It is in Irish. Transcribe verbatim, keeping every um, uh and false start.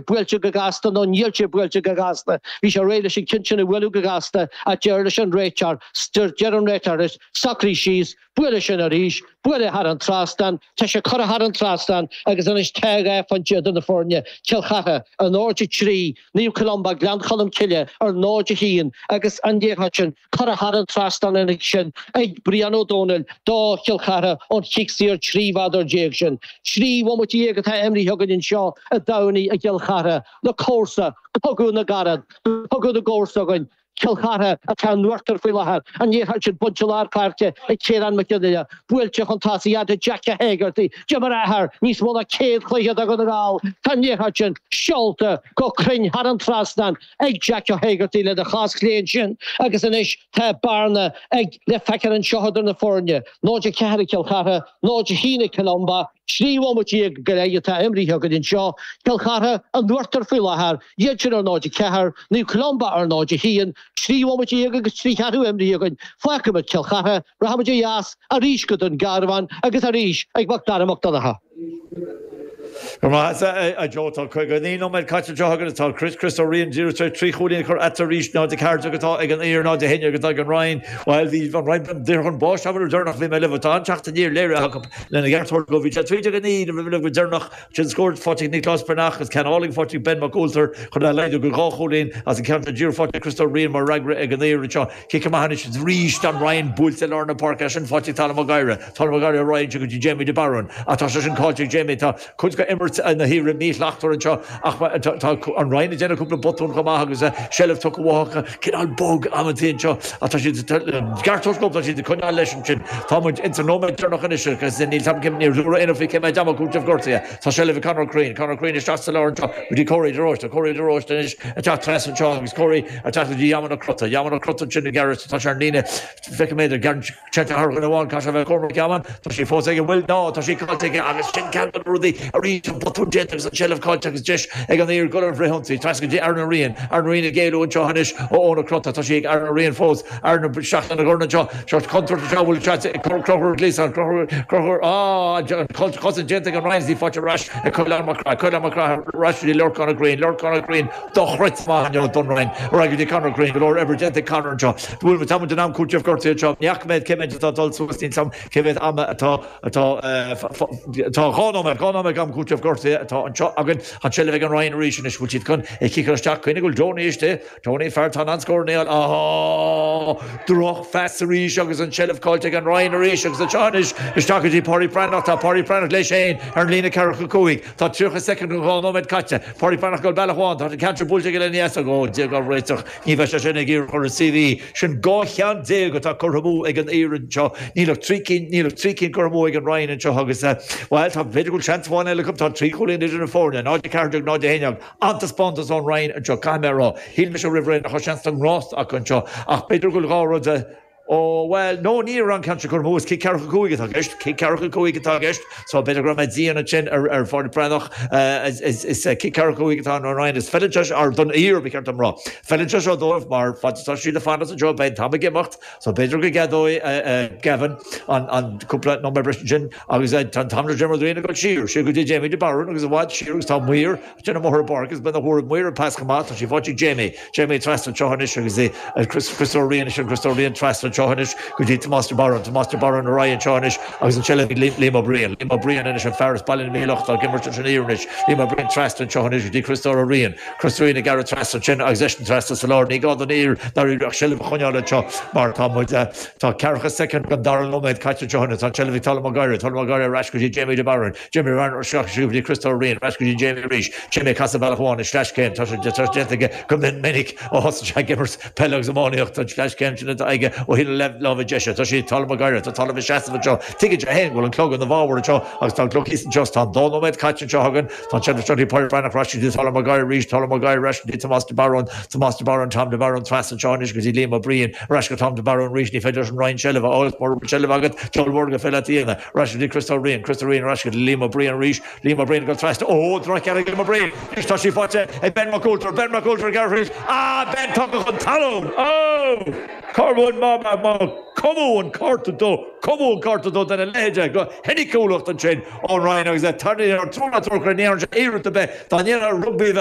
buailte go gasta nó níl sé buailte go gasta. Bhí sé réidh leis an gceann sin a bhualadh go gasta ach deir leis an réiteoir, deir an réiteoir leis, socraigh síos, buail é sin arís, buail é thar an trasnán, tá sé curtha thar an trasnán agus anois tá dhá phointe idir na foirne, Cill Chartha ar náid a trí, Naomh Columba, Gleann Cholm Cille ar náid a haon agus an liathróid sin curtha thar an trasnán ansin ag Brian Ó Dónaill do Chill Chartha ón chic saor trí mhéadar déag sin. Trí bhomaite déag atá imrithe againn anseo i dTamhnaigh i gCill Chartha, na comharsa, cogadh na gcarad, cogadh na gcomharsa againn, Cill Chartha atá in uachtar faoi láthair, an liathróid sin bainte lár páirce ag Ciarán Mac Fhionnaile, buailte chun tosaigh fhad le Jackie Hegarty, d'imir a athair níos mó ná céad cluiche do Dhún na nGall, tá an liathróid sin seolta go cruinn thar an trasnán ag Jackie Hegarty lena chos chlé ansin agus anois tá bearna ag le feiceáil anseo idir na foirne, náid a ceathair ag Cill Chartha, náid a haon ag Columba. Trí bhomaite déag go leith atá imrithe againn anseo, Cill Chartha in uachtar faoi láthair, iad sin ar náid a ceathair, Naomh Columba ar náid a haon, trí bhomaite déag agus trí cheathrú imrithe againn. Fágfaimid Cill Chartha, rachaimid ó dheas arís go Dún Garbhán agus arís ag Mac Dara Mac Donncha. Go maith a Joe, tá caoga naoi nóiméad caite anseo againn tá Chris Chris Ó Riain díreach tar éis trí chúilín a chur eatarthu arís, náid a ceathair déag atá ag an Oír, náid a haon déag atá ag an Rinn. Bhuel, bhí an Rinn daor chun báis an uair deireanach bhí mé libh. Tá an-teacht aniar léirithe acu lena gceart a thabhairt dóibh. Bhí sé trí déag a naoi nuair a bhí mé libh go deireanach. Sin scór faighte ag Nioclás Breathnach agus ceann álainn faighte ag Ben Mac Ualtair chun é a laghdú go dhá chúilín as an gceann sin díreach faighte ag Chris Ó Riain mar fhreagra ag an Oír anseo. Cic amach anois arís don Rinn buailte i lár na páirce, sin faighte ag Tadhg Mac Gáire. Tadhg Mac Gáire ar aghaidh ansin go dtí Jamie de Barún. Ach tá sé sin caillte ag Jamie. Tá cuid de imirt na hAoire míshlachtmhar anseo ach tá an Rinn ag déanamh cúpla botún chomh maith agus seilbh tugtha uathu cineál bog amantaí anseo ach tá siad ceart dóibh tá siad ag coinneáil leis ansin. Tá muid ins an nóiméad deireanach anois agus níl tam cim níor dúradh aon faoi cé mhéad am cúiteamh gortaithe. Tá seilbh ag Conor Crean, Conor Crean isteach sa lár anseo go dtí Corey de Róiste, Corey de Róiste anois ag teacht trasna anseo agus Corey ag teacht go dtí Yaman Ó Crotta, Yaman Ó Crotta ansin ag gearradh tá sé ar an líne feicim é gearrann sé thar dhuine amháin caithfidh sé a bheith Cormac Yaman tá sí fós ag an bhfuil ná tá sí caillte aige agus sin ceann de na rudaí arís an botún déanta agus an tseilbh caillte agus deis ag an Oír dul ar fhrithionsaí trasna go dtí Aaron Ó Riain, Aaron Ó Riain ag éalú anseo anois ó Eoin Ó Crotta tá sí ag Aaron Ó Riain fós Aaron isteach lena dhorn anseo seo contúirt anseo bhfuil sé ag Conchúr Gleeson Conchúr Conchúr á an chosaint déanta ag an Rinn í faighte ar ais ag Coileán Mac Craith Coileán Mac Craith ar ais go dtí Lorcán Ó Grian Lorcán Ó Grian dochreidte maith inniu don Rinn ar aghaidh go dtí Conor Crean go leor oibre déanta ag Conor anseo bhfuil tá muid in am cúiteamh gortaithe anseo ní fhaca mé cé mhéad atá dul suas níl 'fhios a'm cé mhéad ama atá atá atá dhá nóiméad dhá nóiméad am cúiteamh gortaithe atá anseo againn an tseilbh ag an Rinn arís anois bhfuil siad chun é ciceáil isteach cuimhnigh go bhfuil Tony istigh Tony fear tá an scór níl á drochphas arís agus an tseilbh caillte ag an Rinn arís agus anseo anois isteach go dtí Pádraig Breathnach tá Pádraig Breathnach leis féin ar an líne ceathracha cúig tá tríocha soicind go dhá nóiméad caite Pádraig Breathnach go bealach amháin tá an ceann buailte aige lena dheasóg ó Dia ár réiteach ní bheidh sé sin ag iarraidh chur i C V sin dhá cheann déag atá curtha amú ag an Oír anseo níl ach trí cinn níl ach trí cinn curtha amú ag an Rinn anseo agus bhuel tá b'fhéidir go bhfuil seans amháin eile acu tá trí chúilín idir na foirne náid a ceathair déag náid a haon déag an-taispeántas ón Rinn anseo caithfidh mé a rá shíl mise roimh ré nach raibh seans don ngrást acu anseo ach b'fhéidir go bhfuil dhá rud Ó well no ní raibh an ceann sin curtha amú is cic ceathracha cúig atá i gceist cic ceathracha cúig atá i gceist so b'fhéidir go raibh mé dian ansin ar ar Phádraig Breathnach is is cic ceathracha cúig atá an Rinn is feileann sé ar don Oír ba cheart dom rá feileann sé seo dóibh mar fad atá siad ag fanacht anseo beidh an t-am ag imeacht so b'fhéidir go gceadóidh Gavin an an cúpla nóiméad breise sin agus tá an t-am le Diarmuid Riain ag dul siar siar go dtí Jamie de Barún agus i bhfad siar agus tá maor Déanamh amuigh ar an bpáirc agus beidh na huair maor an pas chomh maith tá sí faighte ag Jamie Jamie trasna anseo anois agus é Chris Chris Ó Riain sin Chris Ó Riain trasna anseo anois go dtí Tomás de Barún Tomás de Barún ar aghaidh anseo anois agus an tseilbh ag Liam Ó Briain Liam Ó Briain anois an fear as Baile na Míleach atá ag imirt ansin Oír anois Liam Ó Briain trasna anseo anois go dtí Chris Ó Riain Chris Ó Riain ag gearradh trasna ansin agus eisean trasna sa lár ní gá don Oír dáiríre ach seilbh a choinneáil anseo mar tá muid tá ceathracha soicind den dara nóiméad caite anseo anois tá an tseilbh ag Tadhg Mac Gáire Tadhg Mac Gáire ar ais go dtí Jamie de Barún Jamie de Barún isteach go dtí Chris Ó Riain ar ais go dtí Jamie arís Jamie ag casadh bealach amháin is sleaschéim tá sé déanta aige go minic ó thosaigh sé ag imirt peile agus iománaíocht an sleaschéim sin atá aige ó thaobh na láimhe deise tá sé Tadhg Mac Gáire tá Tadhg ag seasamh anseo tuigeann sé féin go bhfuil an clog ina bhfabhar anseo agus tá an clog thíos anseo tá an dá nóiméad caite anseo againn tá an tseilbh anseo Pádraig Breathnach ar ais go dtí Tadhg Mac Gáire arís Tadhg Mac Gáire ar ais go dtí Tomás de Barún Tomás de Barún Tom de Barún trasna anseo anois go dtí Liam Ó Briain ar ais go Tom de Barún arís ní féidir leis an Rinn seilbh a fháil mura bhfuil seilbh agat deabhal mór gur féidir leat a dhéanamh ar ais go dtí Chris Ó Riain Chris Ó Riain ar ais go dtí Liam Ó Briain arís Liam Ó Briain go trasna ó drochcheann ag Liam Ó Briain anois tá sí faighte ag Ben Mac Ualtair Ben Mac Ualtair ag gearradh ah Ben tugtha chun talún ó Corwin má má Cuma an cárta dó cuma an cárta dó den leide go soiniciúlacht ansin ón Rinn agus tarr túú ní sé éirit be Tá ní rugby bheith